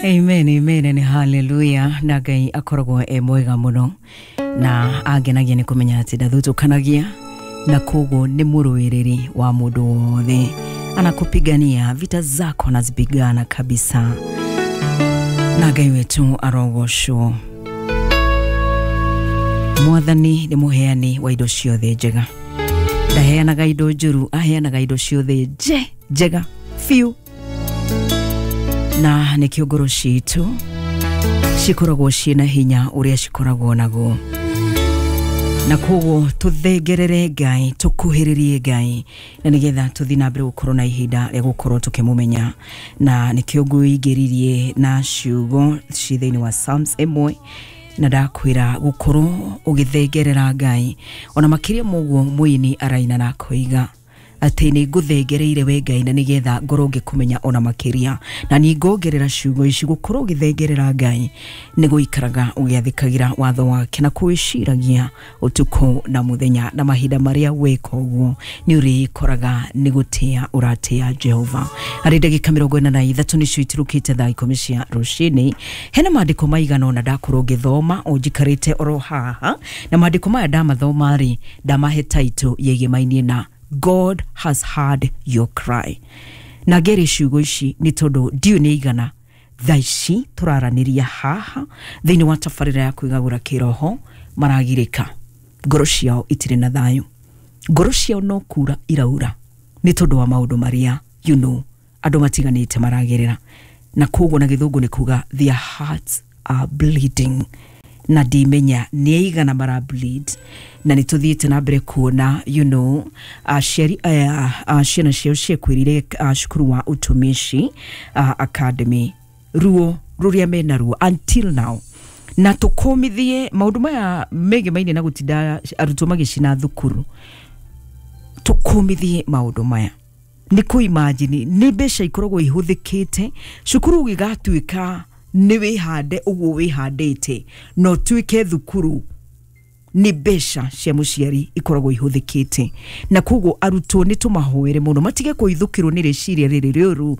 Amen, amen and hallelujah. Na Ngai akoragwo e mwega muno na angenagia nĩ kũmenya atĩ ndathutũkanagia na koguo nĩ mũrũĩrĩri wa mũndũ wothe, anakupigania vita zako anazipigana kabisa, na Ngai wetu arogocwo. Mwathani nĩ mũheani wa indo ciothe njega, ndaheanaga indo njũru, aheanaga indo ciothe njega biũ, na nĩkĩo ngoro citũ cikoragwo ciĩna hinya ũrĩa cikoragwo naguo, na koguo tũthengerere Ngai, tũkuhĩrĩrie Ngai, na nĩgetha tũthiĩ na mbere gũkorwo na ihinda rĩa gũkorwo tũkĩmũmenya. Na nĩkĩo ngũingĩririe na ciugo ci thĩinĩ wa Psalms 1, na ndakwĩra gũkorwo ũgĩthengerera Ngai ona makĩria moguo mũini araina na akoiga atĩ nĩ ngũthengereire we Ngai na nĩgetha ngorwo ngĩkũmenya ona makĩria. Na nĩ ngongerera ciugo ici, gũkorwo ũgĩthengerera Ngai nĩ gũikaraga ũgĩathĩkagĩra watho wake na kũwĩciragia ũtukũ na mũthenya, na mahinda marĩa weka ũguo nĩ ũrĩkoraga nĩ gũtĩa ũratĩa Jehova. Harĩ ndagĩka 43 nĩcio itirũkĩte thaa 10 cia rũcinĩ, hena maandĩko maigana ũna ndakorwo ngĩthoma o njikarĩte oro haha, na maandĩko maya ndamathoma rĩ, ndamahe title yĩgĩmainie na God has heard your cry. Na ngere ciugo ici nĩ tondũ ndiũ nĩ igana thaa ici tũraranĩria haha thĩinĩ wa tabarĩra ya kwĩgagũra kĩroho maragirĩka, ngoro ciao itirĩ na thayũ, ngoro ciao no kura iraura nĩ tondũ wa maũndũ marĩa andũ matiganĩte maragerera, na koguo na gĩthũngũ nĩ kuga their hearts are bleeding, na ndimenya nĩ aigana mara bleed. Na nĩ tũthiĩte na mbere kuona aciari aya ciana ciao ciakuĩrire cukuru wa Utumishi Academy, ruo rũrĩa mena ruo until now, na tũkũmithie maũndũ maya megemaine na gũtinda arutwo magĩcina thukuru. Tũkũmithie maũndũ maya nĩ kũ imagine nĩ mbeca ikoragwo ihũthĩkĩte cukuru gĩgatuĩka nĩ wĩhande ũguo wĩhandĩte no tuĩke thukuru nĩ mbeca cia mũciari ikoragwo ihũthĩkĩte, na koguo arutwo nĩ tũmahoere mũno matige kũhithũkĩrwo nĩ rĩciria rĩrĩ rĩũru.